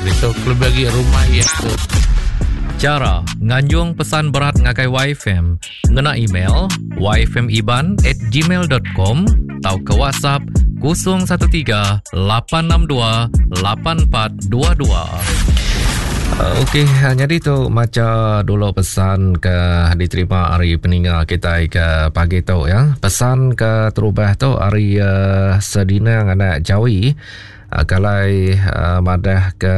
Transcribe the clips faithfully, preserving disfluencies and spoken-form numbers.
Itu lebih lagi rumah iya tu. Chara nganjung pesan berat ngagai Y F M ngena email y f m iban at gmail dot com atau ke WhatsApp kosong satu tiga lapan enam dua lapan empat dua dua. Okey, jadi tu maca dulu pesan ke diterima hari peninga kita ke pagi tu ya. Pesan ke terubah tu hari uh, Sedinang anak Jawi uh, kalai uh, madah ke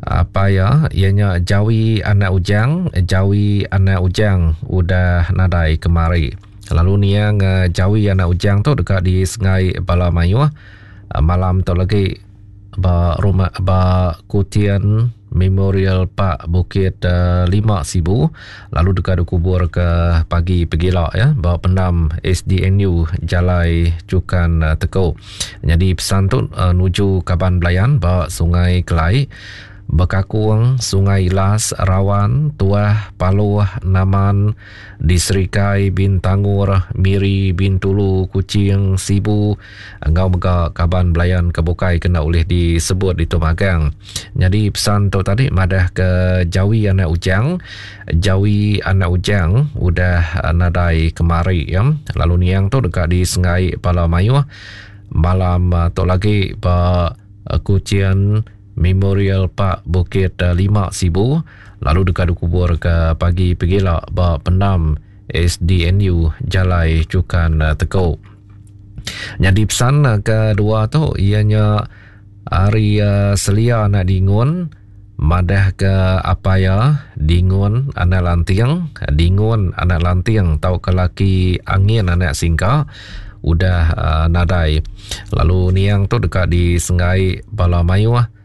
apa ya, ianya Jawi anak Ujang, Jawi anak Ujang udah nadai kemari. Lalu niang uh, Jawi anak Ujang tu dekat di Sungai Balamayuh uh, malam tu lagi ba rumah ba Kutian Memorial Park Bukit uh, Lima Sibu, lalu dekat dikubur ke pagi pegila ya ba pendam S D N U Jalai Cukan uh, Tekuk. Jadi pesan tu uh, nuju Kaban Belayan ba Sungai Kelai, Bekakung, Sungai Ilas, Rawan, Tuah, Paluh, Naman, di Serikai, Bintangur, Miri, Bintulu, Kuching, Sibu, engau mega Kaban Belayan kebukai kena oleh disebut di Tumagang. Jadi pesan tu tadi madah ke Jawi anak Ujang, Jawi anak Ujang udah nadai kemari ya. Lalu niang tu dekat di Sungai Palamayuh malam tu lagi ba Kuching Memorial Park Bukit Lima Sibu, lalu dekat dikubur ke pagi pegila ba pendam S D N U Jalai Cukan Tekuk. Jadi pesan kedua tu ianya hari uh, Selia anak Dingun madah ke apa ya Dingun anak Lanting, Dingun anak Lanting tau ke laki angin anak Singka udah uh, nadai. Lalu niang tu dekat di Sungai Balamayuh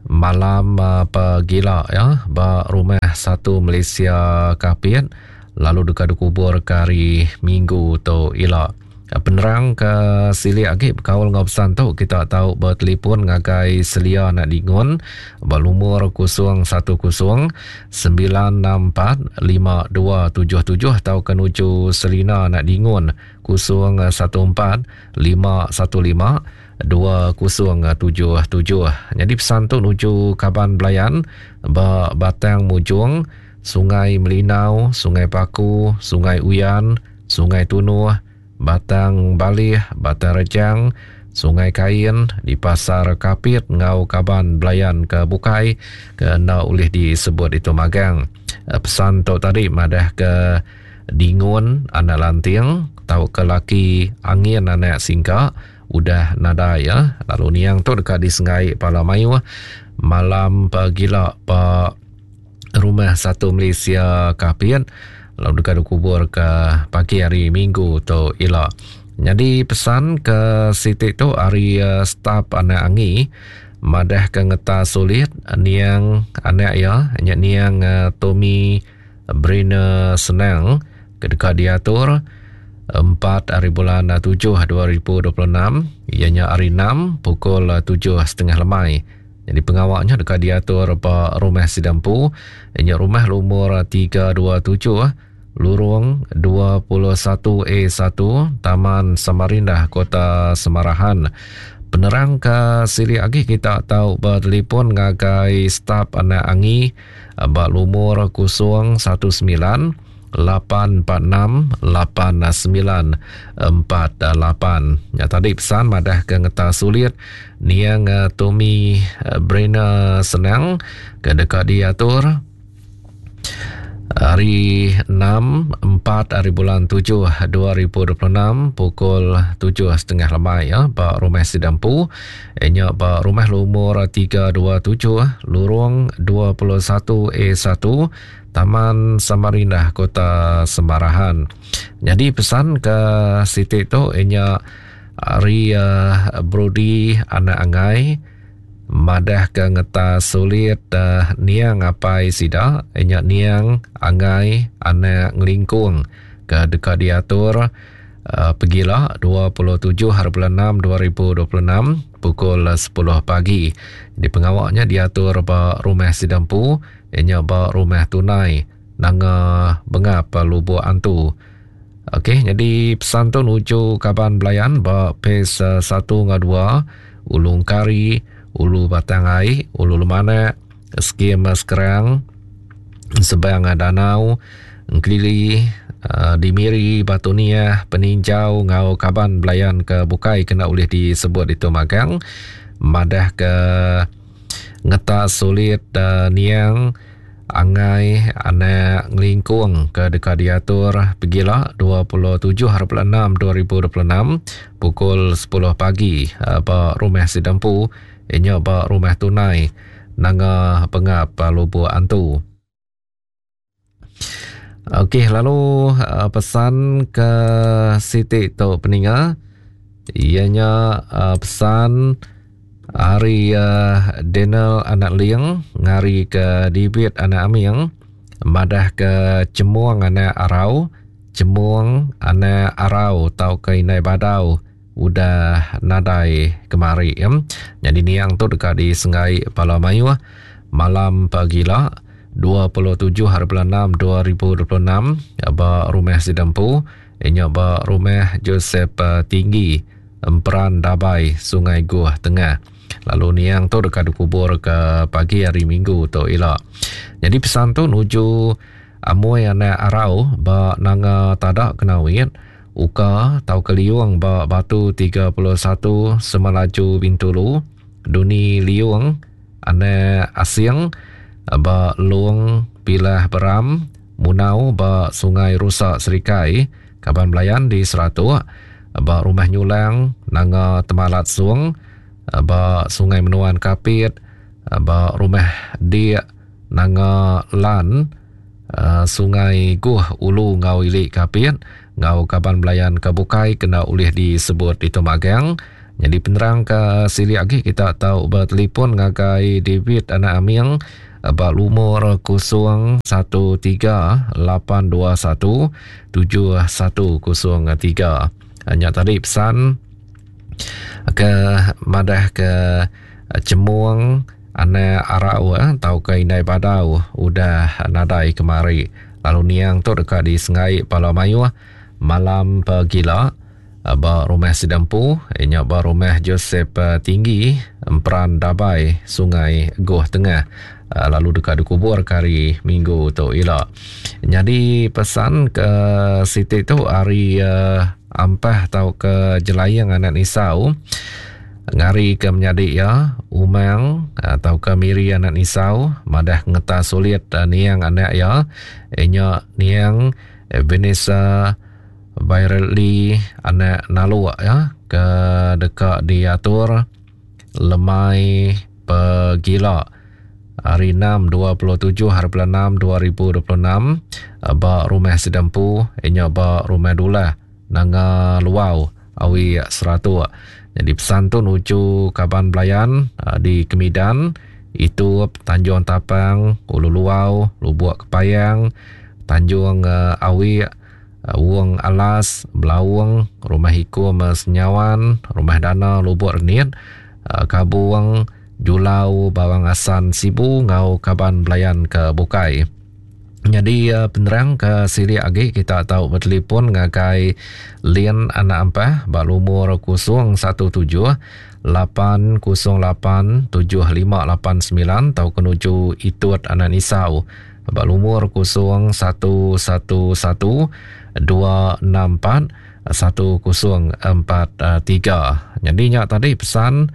malam uh, pegila ya ba rumah satu Malaysia Kapit, lalu dekat dikubur ke hari Minggu tu ila. Penerang ke silik lagi berkaul dengan pesan tu kita tahu bertelefon ngagai Selia anak Dingun ba lumur kosong satu kosong sembilan enam empat lima dua tujuh tujuh atau ke nuju Selina anak Dingun kosong satu empat lima satu lima dua kosong tujuh tujuh. Jadi pesan tu nuju Kaban Belayan ba Batang Mujung, Sungai Melinau, Sungai Paku, Sungai Uyan, Sungai Tunuh, Batang Balih, Batang Rejang, Sungai Kain, di Pasar Kapit ngau Kaban Belayan ke Bukai ke enda boleh disebut itu magang. Pesan tu tadi madah ke Dingun anak Lanting tau ke laki angin anak Singka udah nadai ya. Lalu niang tu dekat di Sungai Palamayuh malam pegila pa rumah satu Malaysia Kapit, lalu dekat dikubur ke pagi hari Minggu tu ila. Jadi pesan ke sitik tu hari uh, staf anak Angi madah ke ngeta sulit niang anak ya nya niang uh, Tommy Brina Senang ke dekat diatur empat hari bulan tujuh dua ribu dua puluh enam, ianya hari enam pukul tujuh setengah lemai. Jadi pengawaknya dekat diatur ba rumah Sidampu, ianya rumah lumur tiga dua tujuh Lurung dua puluh satu A satu Taman Samarinda, Kota Semarahan. Penerang ke silik lagi kita tahu bertelefon ngagai staf anak Angi ba lumur kosong satu sembilan lapan empat enam lapan sembilan empat lapan. Ya tadi pesan madah ke ngeta sulit niang uh, Tommy uh, Brina Senang ke dekat diatur hari enam empat hari bulan tujuh dua ribu dua puluh enam pukul tujuh setengah lemai ya ba rumah Sidampu, nya ba rumah lumur tiga dua tujuh Lurung dua puluh satu A satu Taman Samarinda, Kota Semarahan. Jadi pesan ke sitik tu ianya hari uh, Brody anak Angai madah ke ngeta sulit uh, niang apai sida ianya niang Angai anak Ngelingkung ke dekat diatur uh, pegila dua puluh tujuh hari bulan enam dua ribu dua puluh enam pukul sepuluh pagi. Di pengawaknya diatur ba rumah Sidampu ianya ba rumah Tunai Nanga Bengap Lubuk Antu. Okey, jadi pesan tu nuju Kaban Belayan ba P S satu dengan dua Ulung Kari, Ulu Batang Ai, Ulu Lemanak, Skim Sekerang, Sebang Danau, Engkelili, uh, di Miri, Batu Niah, Peninjau ngau kaban belayan ke bukai kena ulih disebut itu magang. Madah ke ngetas sulit uh, niang angai anak ngelingkung ke dekat diatur pegila dua puluh tujuh hari bulan enam dua ribu dua puluh enam pukul sepuluh pagi uh, ba rumah Sidampu inya ba rumah Tunai Nanga Pengap Lubuk Antu. Okey, lalu uh, pesan ke Siti tu peninga ianya uh, pesan hari uh, Daniel anak Ling ngari ke Dibit anak Aming madah ke Cemuang anak Arau, Cemuang anak Arau tau ke Inai Badau udah nadai kemari ya. Jadi niang tu dekat di Sengai Pala Mayuh malam pagila dua puluh tujuh hari bulan enam dua ribu dua puluh enam ba rumah Sidampu inya ba rumah Joseph Tinggi Emperan Dabai Sungai Guh Tengah. Lalu niang tu dekat dikubur ke pagi hari Minggu tu ila. Jadi pesan tu nuju Amoy anak Arau ba Nanga Tadak Kenawit, Uka tau Keliung ba Batu tiga puluh satu Semalaju Bintulu, Duni Liung anak Asing ba Long Pilah Beram, Munau ba Sungai Rusak Serikai, Kaban Belayan di Seratuk, ba Rumah Nyulang Nanga Temalat Sung, ba Sungai Menuan Kapit, ba Rumah Dik Nanga Lan, Sungai Guh Ulu Ngau Ilik Kapit, ngau Kaban Belayan Kebukai kena ulih disebut itu magang. Jadi penerang ke sili lagi kita tahu bertelefon ngagai David anak Aming ba lumur kosong satu tiga lapan dua satu tujuh satu kosong tiga. Hanya tadi pesan ke madah ke Cemuang anak Arau eh, tau ke Indai Badau udah nadai kemari. Lalu niang tu dekat di Sengai Pala Mayuh malam pagila ba rumah Sidampu inya ba rumah Joseph Tinggi Emperan Dabai Sungai Goh Tengah, lalu dekat dikubur hari Minggu tu ila. Jadi pesan ke Siti tu hari uh, Ampah tau ke Jelayang anak Nisau ngari ke menyadik ya Umang atau ke Miri anak Nisau madah ngeta sulit niang anak ya inya niang Vanessa Virally anak Naluk ya ke dekat diatur lemai pegila hari enam dua puluh tujuh hari bulan enam dua ribu dua puluh enam ba rumah Sidampu inya ba rumah Dulah Nanga Luau Awi Seratuk. Jadi pesan tu nuju Kaban Belayan di Kemidan itu Tanjung Tapang, Ulu Luau, Lubuk Kepayang, Tanjung Awi, Wong Alas, Belaung, Rumah Hikum Senyawan, Rumah Dana Lubuk Renit, Kabuang, Julau, Bawang Asan Sibu ngau Kaban Belayan ke Bukai. Jadi penerang ke sili agi kita tahu bertelefon ngagai Lin anak Ampah ba lumur kosong satu tujuh lapan kosong lapan tujuh lima lapan sembilan tau kenuju Itut anak Nisau ba lumur kosong satu satu satu dua enam empat satu kosong empat tiga. Jadi nyak tadi pesan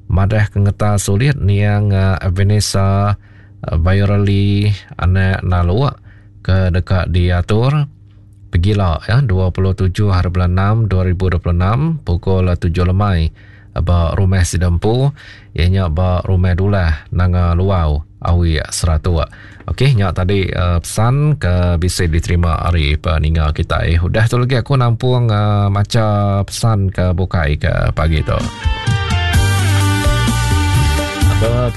madah kengeta sulit niang Vanessa Virally anak Naluk ke dekat diatur pegila ya dua puluh tujuh hari bulan enam dua ribu dua puluh enam pukul tujuh lemai ba rumah Sidampu ianya ba rumah Dulah Nanga Luau Awi Seratuk. Okey, nyak tadi uh, pesan ke bisa diterima hari peninga kita. Eh udah tu lagi aku nampung uh, maca pesan ke bukai ke pagi tu.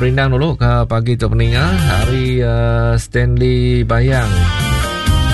Perindang dulu ke pagi tu peninga hari uh, Stanley Bayang